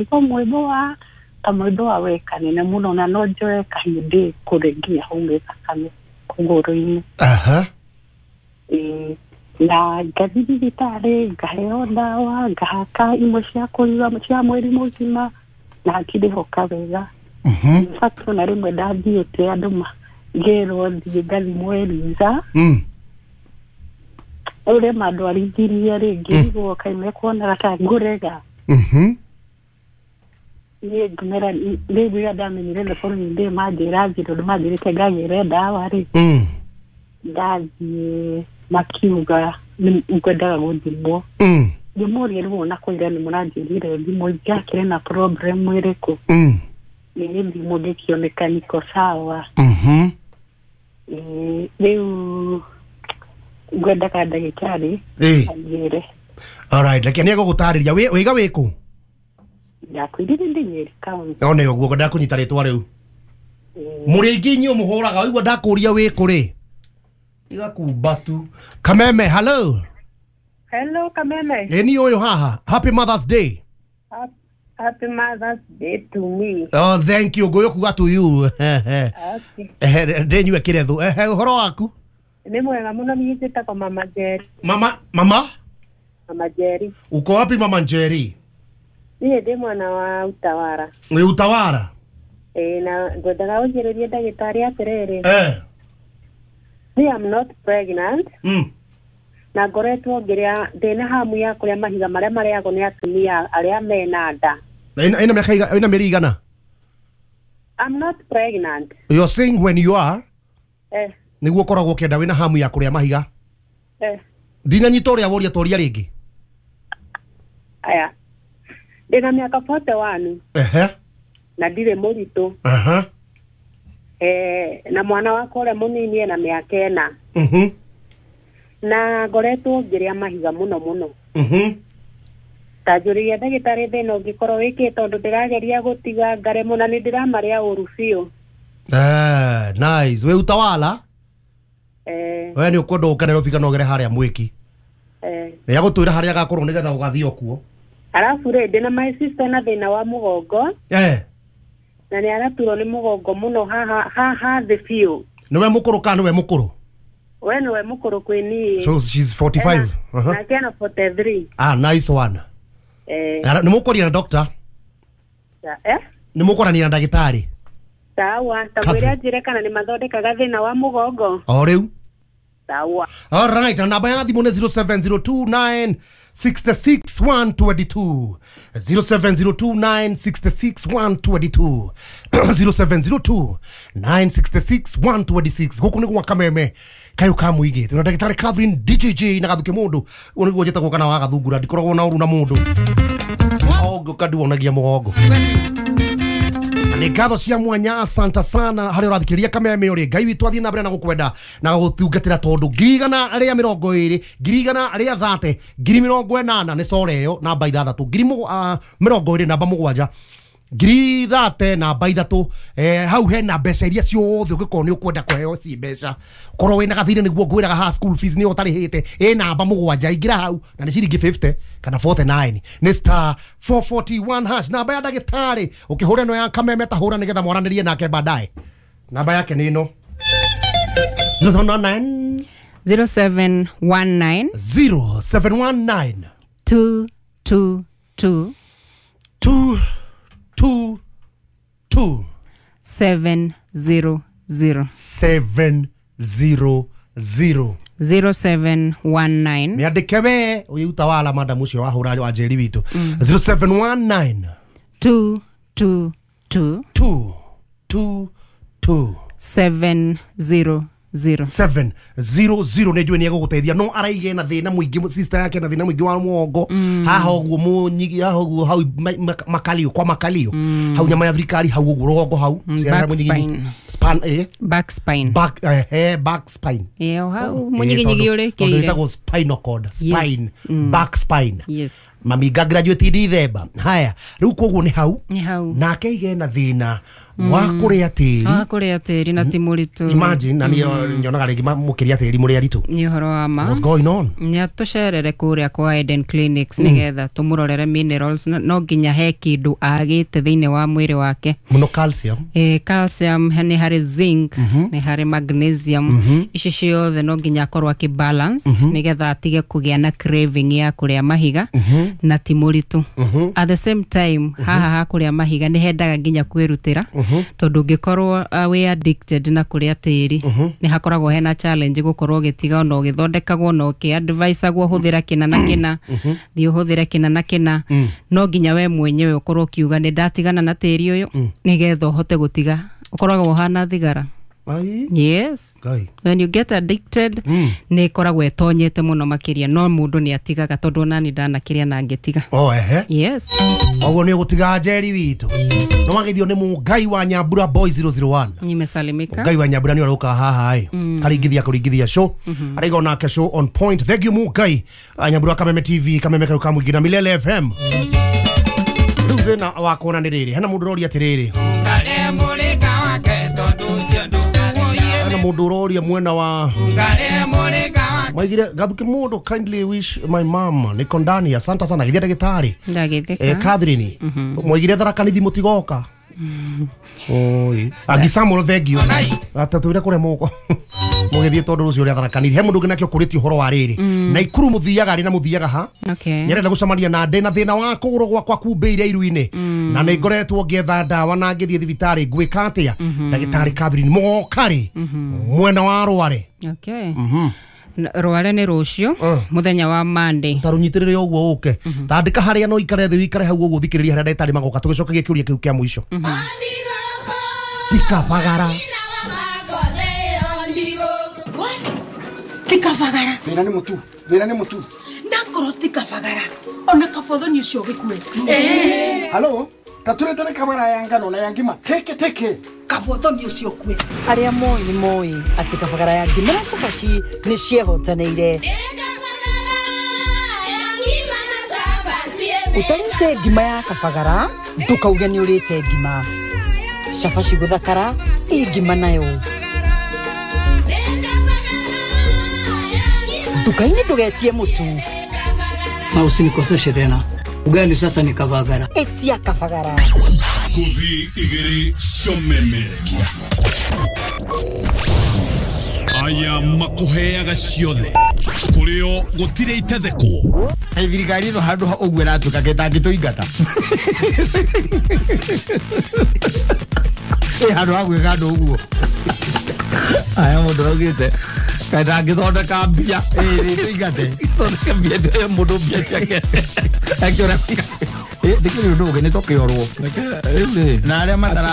Iko mwĩmbo wa ta mwĩmbo wa wekanene mũno na no njoe kahĩndĩ kũrĩ nginya haume thakame kũgũrũ-inĩ. Aha. Ĩĩ, na ngathiĩ thibitarĩ ngaheo ndawa ngahaka imwe cia kũnyua cia mweri mũgima na ngĩrĩhoka wega. Mhm. In fact ona rĩmwe ndathiĩte andũ ngĩrwo thiĩ ngathimwo Eliza. Ũrĩa mandwarithirie rĩ ngĩrigwo kaĩ mekuonaga ta ngũrega. Mhm. Niĩ ngĩmera rĩu rĩrĩa ndamenyire the following day manjĩra thiĩ tondũ manjĩrĩte ngagĩre ndawa rĩ. Ndathiĩ makiuga ngwendaga gũthimwo. Ngĩmũria rĩu ona kwĩra nĩ mũranjĩrire thimũ ingĩakĩrĩ na problem ĩrĩkũ. Nĩ thimũ ngĩkĩoneka niko sawa. Ĩĩ, rĩu ngwendaga ndagĩtarĩ anjĩre. Alright, reke nĩ egũgũtarĩria. Wĩga wĩkũ? Ndakwĩrire ndĩ Nyeri County. No nĩ ũguo ngwendaga kũnyita rĩtwa rĩu. Mũrĩ aingĩ inyuĩ mũhũraga waigua ndakũria wĩkũ rĩ. Igakumba tu. Kameme, hello. Hello, Kameme. Ĩ niĩ ũyũ haha. Happy Mother's Day. Happy Mother's Day to me. Oh, thank you. Ngũyũ kuga to you. Okay. Ndĩnyue kĩretho. Ehe, ũhoro waku? Nĩ mwega mũno niĩ njĩtagwo Mama Njeri. Mama, mama? Mama Njeri. Uko wapi Mama Njeri? Niĩ ndĩ mwana wa Utawara. Wĩ Utawara? Ĩĩ, na ngwendaga ũnjĩrĩrie ndagĩtarĩ atĩrĩrĩ. Me am not pregnant. Na ngoretwo ngĩrĩa ndĩna hamu ya kũrĩa mahiga marĩa marĩagwo nĩ atumia arĩa mena nda. Na ina mĩaka ina mĩeri igana? I'm not pregnant. You're saying when you are? Nĩguo ũkoragwo ũkĩenda wĩna hamu ya kũrĩa mahiga? Ndinanyita ũrĩa woria toria rĩngĩ. Aya. Ndĩna mĩaka 41. Ehe. Na ndirĩ mũritũ. Aha. Na mwana wakwa ũrĩa mũnini ena mĩaka 4. Na ngoretwo ngĩrĩa mahiga mũno mũno. Ta njũririe ndagĩtarĩ thĩna ũngĩkorwo wĩkĩte tondũ ndĩrageria gũtiga ngaremwo na nĩ ndĩramarĩa ũru biũ. Nice. Wĩ Utawala? We nĩ ũkwenda ũke Nairobi kana ũgere harĩa mwĩki? Nĩ agũtwĩra harĩa agakorwo nĩgetha ũgathiĩ o kuo. Arabu rĩ, ndĩna my sister na thĩna wa mũgongo. Na nĩ araturwo nĩ mũgongo mũno haha thĩ biũ. Nĩwe mũkũrũ kana nĩwe mũkũrũ? We nĩwe mũkũrũ kwĩ niĩ. So she's 45. Nake ena 43. Ah, nice one. Nĩ mũkwaria na doctor? Nĩ mũkwaranĩria na ndagĩtarĩ? Sawa, ta mwĩre anjĩre kana nĩ mathondekaga thĩna wa mũgongo. O rĩu. Sawa. All right, na namba ya thimũ nĩ 0702966122. 0702966122. 0702966126. Gũkũ nĩ gwa Kameme kayũ ka mũingĩ. Twĩna ndagĩtarĩ Catherine DJJ na Gathuke mũndũ. Ũguo nĩguo njĩtagwo kana wa Gathungura, ndikoragwo na ũru na mũndũ. O ngũka ndiwonagia mũgongo. Nĩ ngatho cia mwanya, asante sana harĩa ũrathikĩrĩria Kameme ũrĩ. Ngai witũ athiĩ na mbere na gũkwenda na gũgũtungatĩra tondũ 120,000, 130,000, 80,000 nĩ core ĩyo namba 6, 20,000 namba 7, 30,000 namba 3. Hau hena mbeca iria ciothe ũngĩkorwo nĩ ũkwenda kũheo ci mbeca. Korwo wĩna gathirĩ nĩguo ngwĩraga haha school fees nĩyo ũtarĩhĩte, ĩ namba 7 ingĩra hau na nĩ ciringi 50 kana 49 nĩ star 441 hash namba ya ndagĩtarĩ. Ũkĩhũra ĩno ya Kameme ta hũra nĩgetha mwaranĩrie nake baadaye. Namba yake nĩ ĩno 0719 0719 0719 222 222 700 700 0719 Nĩandĩke we ũyũ Utawala madam ũcio wahũra wa Njeri witũ. 0719 222 222 700 700. Nĩ njũĩ nĩ egũgũteithia no araige na thĩna mũingĩ, sister yake na thĩna mũingĩ wa mũgongo haha ũguo mũnyigi haha ũguo hau makalio kwa makalio hau nyama ya thirikari hau ũguo rũgongo hau. Ciana Back mũnyiginyi. spine. Span, Back spine. Back, back spine. Ĩyo hau mũnyiginyigi Tondũ ũrĩkĩire. ĩtagwo spinal cord, spine, back spine. Yes. Mami nga graduate December. Haya, rĩu koguo nĩ hau. Nĩ hau. Nake ige na thĩna Wa kũrĩa tĩri. Wa kũrĩa tĩri na ti mũritũ. Imagine na niĩ nyonaga rĩngĩ mũkĩrĩa tĩri mũrĩ aritũ. Nĩ ũhoro wa ma. What's going on? Nĩ atũcerere kũrĩa kwa Eden Clinics nĩgetha tũmũrorere minerals no nginya he kĩndũ agĩte thĩinĩ wa mwĩrĩ wake. Mũno calcium. Calcium nĩ harĩ zinc, nĩ harĩ magnesium. Ici ciothe no nginya akorwo akĩ balance nĩgetha atige kũgĩa na craving ya kũrĩa mahiga na ti mũritũ. At the same time haha ha kũrĩa mahiga nĩ hendaga nginya kwĩrutĩra tondũ ũngĩkorwo wĩ addicted na kũrĩa tĩri nĩ hakoragwo hena challenge gũkorwo ũgĩtiga ona ũgĩthondekagwo na ũkĩ-advisagwo hũthĩra kĩna na kĩna, thiĩ ũhũthĩre kĩna na kĩna, no nginya we mwenyewe ũkorwo ũkiuga nĩ ndatigana na tĩri ũyũ nĩgetha ũhote gũtiga. Ũkoragwo ũhana thigara. Yes. When you get addicted nĩ ĩkoragwo ĩtonyete mũno makĩria no mũndũ nĩ atigaga tondũ onani ndanakĩrĩa na ngĩtiga. Oh, ehe. Yes. Oguo nĩ ũgũtiga Njeri witũ. No wagithio nĩ Mũngai wa Nyambura Boy 001. Nimesalimika. Mũngai wa Nyambura nĩ aroka haha ĩ. Karingithia kũringithia show. Araiga onake show on point. Thank you Mũngai. Nyambura Kameme TV, Kameme Karuka Mũingĩ na Milele FM. Rĩu thĩna wa kuona nĩ rĩrĩ. Hena mũndũ ũroria atĩrĩrĩ. Mũndũ ũroria mwena wa maigire gathuke mũndũ kindly wish my mom nĩ kondani asante sana githia ndagĩtarĩ ndagĩthika Catherine mwaigire Tharaka Nithi mũtigoka. Oi Agi Samuel thank you atatwire kũrĩa mũko mũgĩthiĩ tondũ rũciũ rĩa Tharaka Nithi he mũndũ ũngĩ nakĩo kũrĩtie ũhoro wa rĩrĩ na Ikuru mũthiaga rĩ na mũthiaga ha. Nyarenda gũcemania na ndĩ na thĩna wa kũgũrũ gwakwa kumbĩire iru-inĩ na nĩ ngoretwo ngĩetha ndawa na ngĩthiĩ thibitarĩ ngwĩka atĩa ndagĩtarĩ Catherine mũgoka rĩ mwena wa Rware. Okay. Rware nĩ rũciũ mũthenya wa Monday. Ta rũnyitĩrĩre ũguo ũke tandĩka harĩa no ikare thĩ wikare hau ũguo thikĩrĩria harĩa ndagĩtarĩ magoka tũgĩcokagia kĩũria kĩu kĩa mũico. Tikabagara. Tikabagara. Thĩna nĩ mũtu. Thĩna nĩ mũtu. Nakorwo tikabagara. Ona kabothoni ũcio ũgĩkue. Halo, taturetere kabara ya ngano na ya ngima. Teke teke. Kabothoni ũcio ũkue. Arĩa moĩ nĩ moĩ atĩ kabagara ya ngima na cabaci nĩ ciehotanĩire. Ũtarĩte ngima ya kabagara ndũkauge nĩ ũrĩte ngima. Cabaci gũthakara ĩ ngima nayo. Nduka-inĩ ndũgetie mũtu. Na usinikoseshe tena. Ugali sasa ni kabagara. Etia kabagara. Kuthi igiri comeme. Aya makuheaga ciothe. Kurio gutire itethekwo. Thirikari ĩno handũ ha ũguo ĩratuĩka gĩtangĩtũingata. Handũ ha gwĩka andũ ũguo. Aya mũndũ araugĩte kaĩ ndangĩthondeka mbia. Tũingate. Thondeke mbia mũndũ mbia ciake. Akĩona Ndikĩrĩ ũndũ ũngĩ nĩ tũkĩorwo. Rĩu rĩ Na arĩa matara